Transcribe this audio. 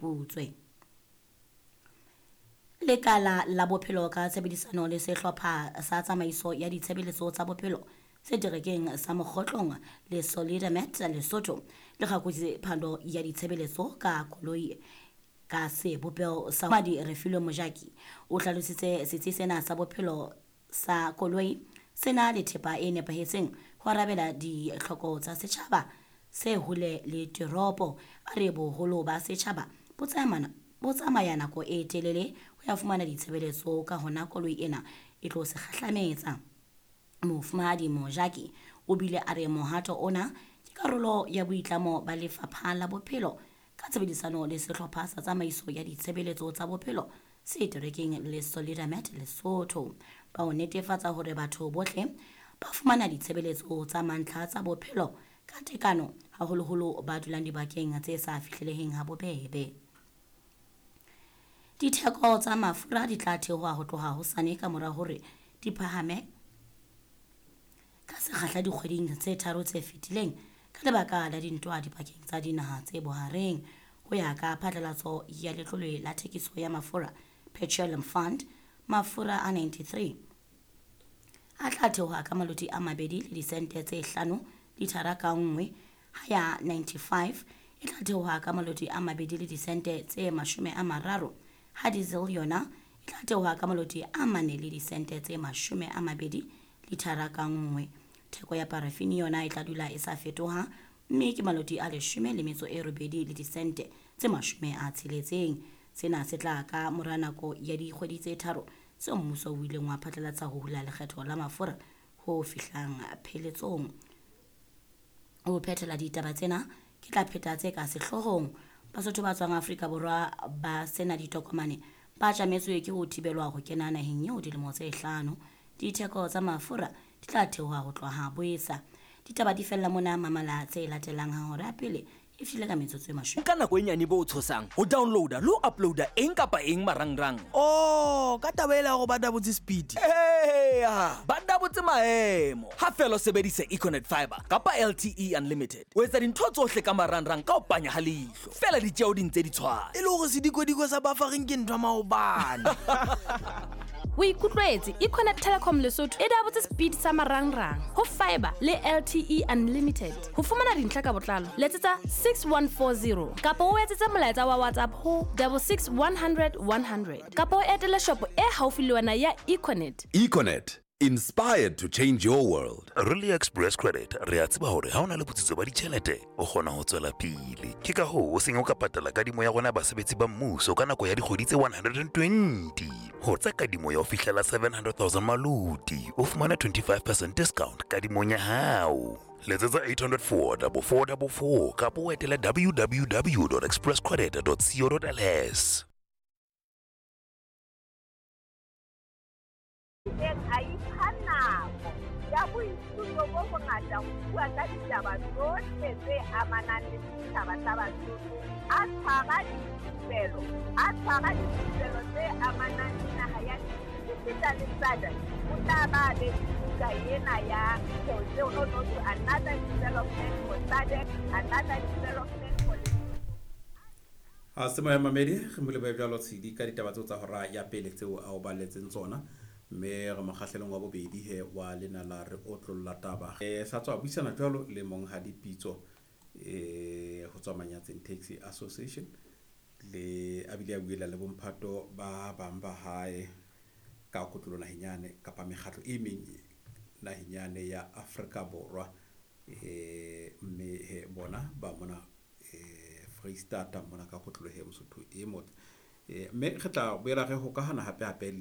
Butswe. Lekala la Bophelo ka tshebedisano le sehlopha sa tsamaiso ya ditshebeletso tsa bophelo seterekeng sa Mokgotlong le Solidamed Lesotho le kgakotse phando ya ditshebeletso ka koloi ka sebopeho sa Madi Refilwe Mojaki o hlalositse setsi sena sa bophelo sa koloi se na le thepa e nepahetseng ho arabela ditlhoko tsa setjhaba se hole le teropo. A re boholo ba setjhaba bo tsamaya bo tsamaya nako e telele ho ya fumana ditshebeletso ka hona koloi ena e tlo se kgahlametsa. Mofumahadi Mojaki o bile a re mohato ona ke karolo ya boitlamo ba Lefapha la Bophelo ka tshebedisano le sehlopha sa tsamaiso ya ditshebeletso tsa bophelo se terekeng le Solidamed Lesotho ba ho netefatsa hore batho bohle ba fumana ditshebeletso tsa mantlha tsa bophelo ka tekano, haholoholo ba dulang dibakeng tse sa fihleleheng ha bobebe. Ditheko tsa mafura di tla theoha ho tloha hosane ka mora hore di phahame ka sekgahla dikgweding tse tharo tse fetileng ka lebaka la dintwa dipakeng tsa dinaha tse bohareng. Ho ya ka phatlalatso ya Letlole la Thekiso ya Mafura, Petroleum Fund, mafura a 93 a tla theoha ka maloti a mabedi le disente tse hlano lithara ka nngwe, ha ya 95 e tla theoha ka maloti a mabedi le disente tse 30, ha diesel yona e tla theoha ka maloti a mane le disente tse 20 lithara ka nngwe. Theko ya parafini yona e tla dula e sa fetoha mme ke maloti a leshome le metso e robedi le disente tse 60. Sena se tla ka mora nako ya dikgwedi tse tharo tseo mmuso o ileng wa phatlalatsa ho hula lekgetho la mafura ho fihlang pheletsong. Ho phethela ditaba tsena ke tla pheta tse ka sehloohong. Basotho ba tswang Afrika Borwa ba sena ditokomane ba tjametswe ke ho thibelwa ho kena naheng eo dilemo tse hlano. Ditheko tsa mafura di tla theoha ho tloha boesa. Ditaba di fella mona mamala tse latelang ha hora ya pele e fihlile ka metsotso e mashome. Nka nako e nyane bo tshosang ho downloada le ho uploada eng kapa eng marangrang. Oh, ka taba ela ya hore ba dabotse speed. Eya, ba dabotse maemo. Ha feela o sebedisa Econet Fiber kapa LTE Unlimited, o etsa dintho tsohle ka marangrang ka ho panya ha leihlo. Feela ditjeo di ntse di tshwana. E le hore sedikodiko sa buffering ke ntho ya maobane. O ikutlwetse, Econet Telecom Lesotho e dabotse speed sa marangrang ho fiber le LTE Unlimited. Ho fumana dintlha ka botlalo, letsetsa 6140 kapa o etsetse molaetsa wa WhatsApp ho 66 100 100 kapa o etele shopo e haufi le wena ya Econet. Econet, inspired to change your world. Re le Express Credit re a tseba hore ha o na le botsitso ba ditjhelete o kgona ho tswela pele. Ke ka hoo o seng o ka patala kadimo ya rona basebetsi ba mmuso ka nako ya dikgwedi tse 120. Ho tsa kadimo ya ho fihlela 700,000 maloti o fumana 25% discount kadimong ya hao. Letsetsa 804 4444 kapa o etele www.expresscredit.co.ls. Ileng a ipha nako ya boithuto bo bongata ho bua ka ditaba tsohle tse amanang le setjhaba sa Basotho, a tshwara dithupelo, a tshwara dithupelo tse amanang le naha ya esita le SADC. O tla ba a be le buka ena ya no no to another development for SADC, another development for Lesotho. Ha se moya mamedi re mo lebohe jwalo Tshidi ka ditaba tseo tsa hora ya pele tseo a o balletseng tsona mme re mokgahlelong wa bobedi he wa lena la re otlolla taba. Sa tswa buisana jwalo le monghadi Pitso ho tswa Manyatseng Taxi Association le a bile a buela le bomphato ba bang ba hae ka kotlolo naheng yane kapa mekgatlo e meng naheng yane ya Afrika Borwa mme he bona ba mona Freistata mona ka kotlolo he Mosotho e motle. Mme re tla boela re hokahana hape hape le